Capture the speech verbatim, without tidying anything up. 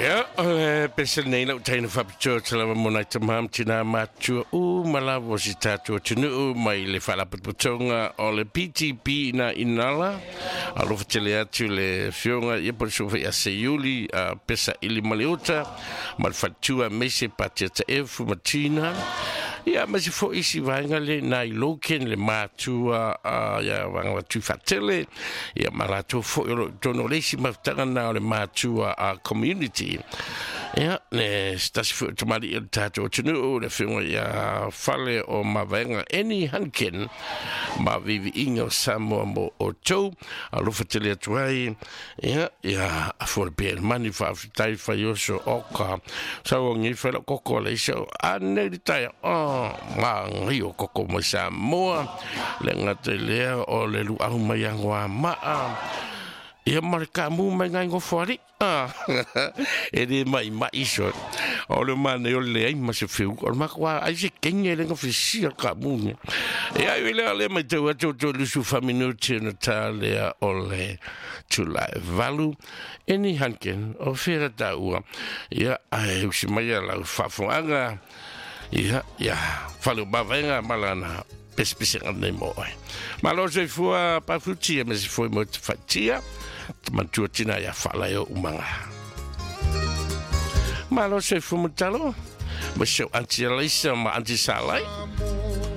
Ia, o le pese nei lau taina faapitoa te lava mo nai tamā ma tinā matutua uma lava o si tatou atunuu mai le Faalapotopotoga o le P T P ina inala. Alofa tele atu le afioga ia po o le suafa ia Seiuli a Pesa ili ma le uta ma le faletua aemaise Patia Taefu ma Tina. Ia ma se fo'i isi vaega le nai Loken le matua ia vaega wa Tuifaatele ia ma latou fo'i o lo o i totonu o le isi mafutaga na o le matua a community. Ia le se tasi fo'i o tamalii o le tatou atunuu le afioga ia Fale o Mavaega Eni Hunkin ma viiviiga o Samoa mo outou alofa tele atu ai ia ia afua le pea i le mani faafetai faioso oka sauagi fai lau koko a le isa o anei le taeao oh magai o koko mai Samoa le gata i lea o le luau mai agoamaa ia ma le kaamu mai ngai gofoali'i ah e lē ma'ima'i so o le manai o le leai ma se feuga o le makuā ai se kege e le gafesia le kaamu nia e ai i lea lea matau atu o tolu fa minuti ona tā lea o le tulae valu Eni Hunkin o fea taua ia ae usi mai ia lau faafofogaaga ia ia Fale o Mavaega ma lana pesepesega nei mo oe. Malo soifua pafutia me se foi mo te fatia te matua tina ia faalae o umaga. Malo soifua matalo ma seu Aunty Alaisa ma Aunty Salai.